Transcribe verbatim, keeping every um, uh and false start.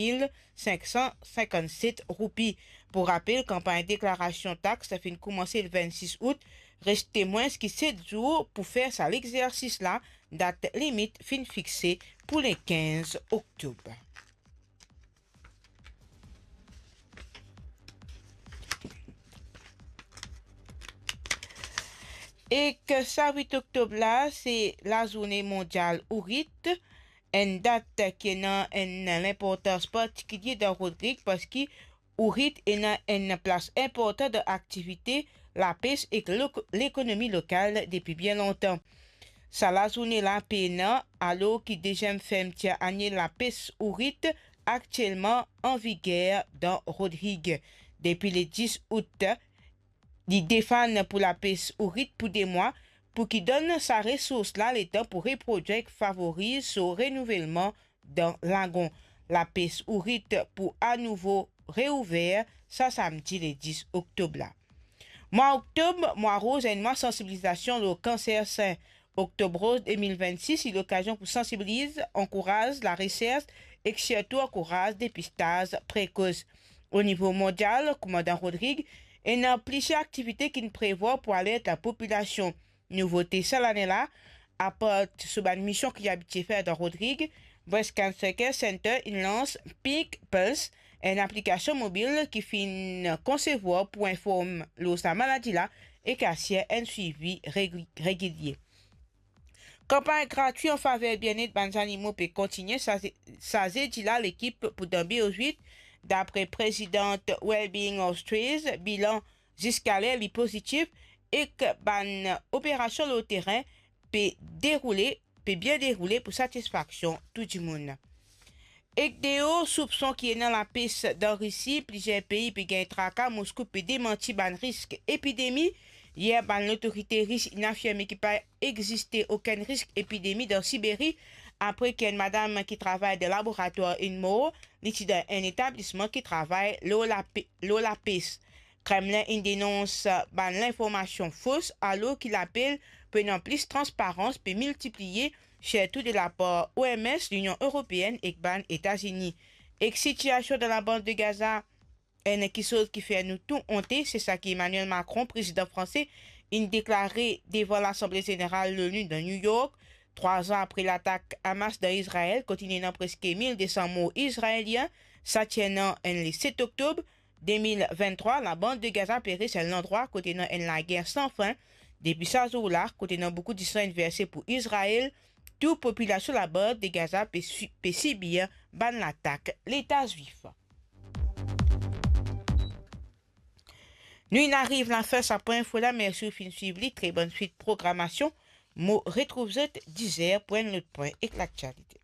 mil sink san sinkannset roupi. Pou rapel, kanpagn deklarasion tax finn koumanse le vennsis out, reste mwins ki set zour pou fer sa lexersis la, dat limit finn fixe pou le kinz oktob. Ek sa wit oktob la, se lazourne mondial ourit, enn dat ki ena enn linportans partikilie dan Rodrig, parski ourit ena enn plas inportan dan aktivite lapes ek lo-, lekonomi lokal depi bien lontan. Sa lazourne la pena, alor ki deziem fermtir aniel lapes ourit aktielman an viger dan Rodrig. Depi le dis out, li defann pou lapes ourit pou de mwa, pou ki donn sa resours la letan pou reprodwir ek favoriz so renouvelman dan lagon. Lapes ourit pou anouvo reouver sa samdi le dis oktob la. Mwa oktob, mwa roz, enn mwa sansibilizasion lor kanser sin. Oktob Roz de mil vennsis, li lokazion pou sansibiliz, ankouraz laresers ek sirtou ankouraz depistaz prekos. O nivo mondial, kouma dan Rodrig, ena plizier aktivite ki'nn prevwar pou alert lapopilasion. Nouvote sa lane la, apar so bann mision ki li abitie fer dan Rodrig, Breast Cancer Care Center inn lans Pink Pulse, enn aplikasion mobil ki finn konsevwar pou inform lor sa maladi la ek asir enn swivi regi-, regilie. Kanpagn gratwi an faver bienet bann zanimo pe kontigne. Sa ze-, sa zedi la, lekip pou Danbe Ozwit, dapre prezidan Wellbeing Australia, bilan ziskaler li pozitif ek bann operasion lor terin pe deroule, pe bien deroule pou satisfaksion tou dimoun. Ek deor soupson ki ena lapes dan Risi, plizier pei pe gagn traka. Moskou pe demanti bann risk epidemi. Yer, bann lotorite ris inn afirme ki pa existe okenn risk epidemi dan Siberi, apre ki enn madam ki travay dan laboratwar inn mor, li ti dan enn etablisman ki travay lor lape-, lor lapes. Kremlin inn denons bann linformasion fos, alor ki lapel pou ena plis transparans pe miltipliye, sirtou de lapar O M S, Linion Eropeenn ek bann Etazini. Ek sitiasion dan labann de Gaza, enn kisoz ki fer nou tou onte, se sa ki Emmanuel Macron, prezidan franse, inn deklare devan Lasanble Zeneral Lonu dan New York, trwa zan apre latak Hamas dan Izrael, kot inn ena preske mil de san mor Izraelien, sa ti ena enn le set oktob de mil venntrwa, labann de Gaza pe res enn landrwa kot ena enn lager san fin. Depi sa zour la, kot ena boukou disan inn verse pou Izrael, tou popilasion labann de Gaza pe si-, pe sibir bann latak Leta Zwif. Nou inn ariv lafin sa pwin info la, mersi ou finn swiv li, tre bonn swit programasion. Mo retrouv zot diz er pou enn lot pwin ek laktialite.